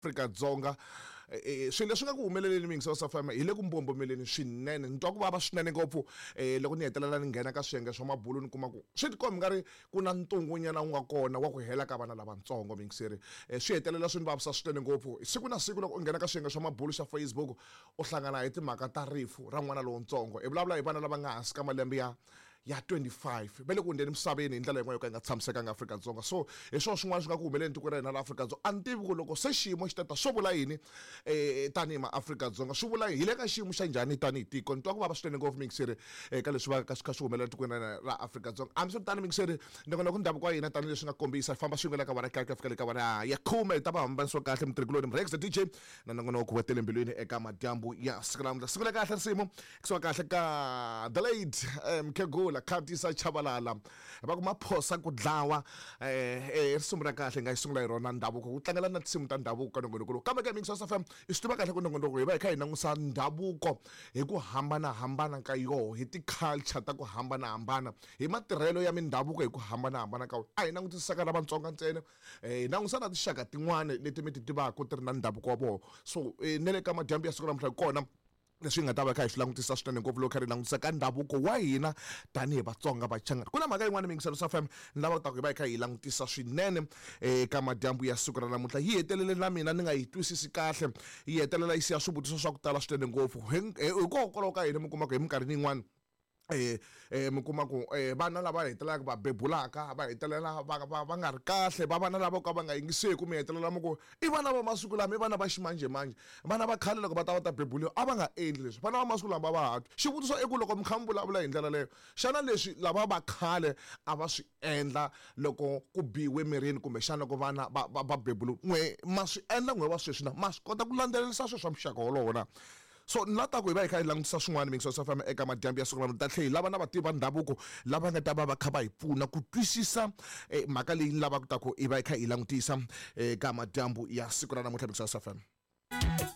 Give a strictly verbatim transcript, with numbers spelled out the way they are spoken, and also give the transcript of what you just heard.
Afrika-Dzonga. Swilo leswi nga ku humeleleni miyingiselo swa F M hi le ku mbombomeleni swinene. Ni twa ku vava swinene ngopfu loko ni hetelela ni nghena ka swiyenge swa mabulu, ni kuma ku swi tikombi nga ri ku na ntungunyana wu nga kona wa ku hela ka vana lavatsongo. Miyingiseri, swi hetelela swi ni vavisa swinene ngopfu. Siku na siku loko u nghena ka swiyenge swa mabulu xa Facebook, u hlangana hi timhaka ta rifu ra n'wana lowuntsongo. Hi vulavula hi vana lava nga hansi ka malembe ya ya twenty-five va le ku hundzeni emisaveni hi ndlela yin'wana yo ka yi nga tshamisekanga Afrika-Dzonga. So hi swona swin'wana swi nga ku humeleni tiko ra hina la Afrika-Dzonga. A ni tivi ku loko se xiyimo xi tata swo vula yini um tanihi maAfrika-Dzonga, swi vula hi le ka xiyimo xa njhani tanihi tiko. Ni twa ku vava swinene ngopfu, miyingiseri, eka leswi va ka swi kha swi humelela tikweni ra hina ra Afrika-Dzonga. Hambiswiritano, miyingiseri, nongonoko ndhavuko wa hina, tanihileswi nga kombisa, hi famba swin'we la ka wara kaye ku ya fika le ka wara ya khume. Hi ta va hambanisiwa kahle mutirhikuloni Mrex the D J na nongonoko wa tele mbilwini eka madyambu ya siku namuntlha. Siku la kahle, risimu kusuka kahle ka the late Mkhegula Khatisa Chabalala, va ku Maphosa ku dlawa. eh risimu ra kahle nga yi sungula hi rona ndhavuko, ku tlangela na tinsimu ta ndhavuko ka nongonoko lowu. Kambe ka Mix F M i swi tiva kahle ku nongonoko hi va hi kha hi langusa ndhavuko hi ku hambanahambana ka yoho, hi ti-culture ta ku hambanahambana, hi matirhelo ya mindhavuko hi ku hambanahambana ka wona. A hi langutisaka na Vatsonga ntsena, hi langusa na tinxaka tin'wana leti mi ti tivaka ti ri na ndhavuko wa vona. So na le ka madyambu ya siku namuntlha hi kona leswi hi nga ta va kha hi swi langutisa swinene ngopfu loko kha ri langutisa ka ndhavuko wa hina tanihi Vatsonga Vachangana. Ku na mhaka yin'wana, miyingiselo swa F M, ni lava ku ta ku hi va hi kha hi langutisa swinene eka madyambu ya siku ra namuntlha. Yi hetelele na mina ni nga yi twisisi kahle, yi hetelela yi siya swivutiso swa ku tala swinene ngopfu. Hikokwalaho ka yini mi kuma ku hi minkarhini yin'wana eh eh mi kuma ku eh vana lava hetelelaka va bebulaka va hetelela va va va nga ri kahle, va vana lava ka va nga yingiseki, mi hetelela mi ku i vana va masiku lama, i vana va ximanjhemanjhe? Vana va khale loko va ta va ta bebuliwa a va nga endli leswi, vana va masiku lama va va ha twi. Xivutiso i ku loko mi kha mi vulavula hi ndlela leyo, xana leswi lava va khale a va swi endla loko ku biwe mirini, kumbexana loko vana va va va bebuliwa, n'we ma swi endla n'we va sweswi na ma swi kota ku landzelerisa swilo swa muxaka wolowo na? So ni la ta ku hi va hi kha hi langutisa swin'wana, miyingiselo swa famba, eka madyambu ya siku namuntlha. Ta tlhela hi lava na vativi va ndhavuko lava nga ta va va kha va hi pfuna ku twisisa eh, mhaka leyi ni lavaka ta ku hi va hi kha hi langutisa eka madyambu ya siku ra namuntlha, miyingiselo swa famba.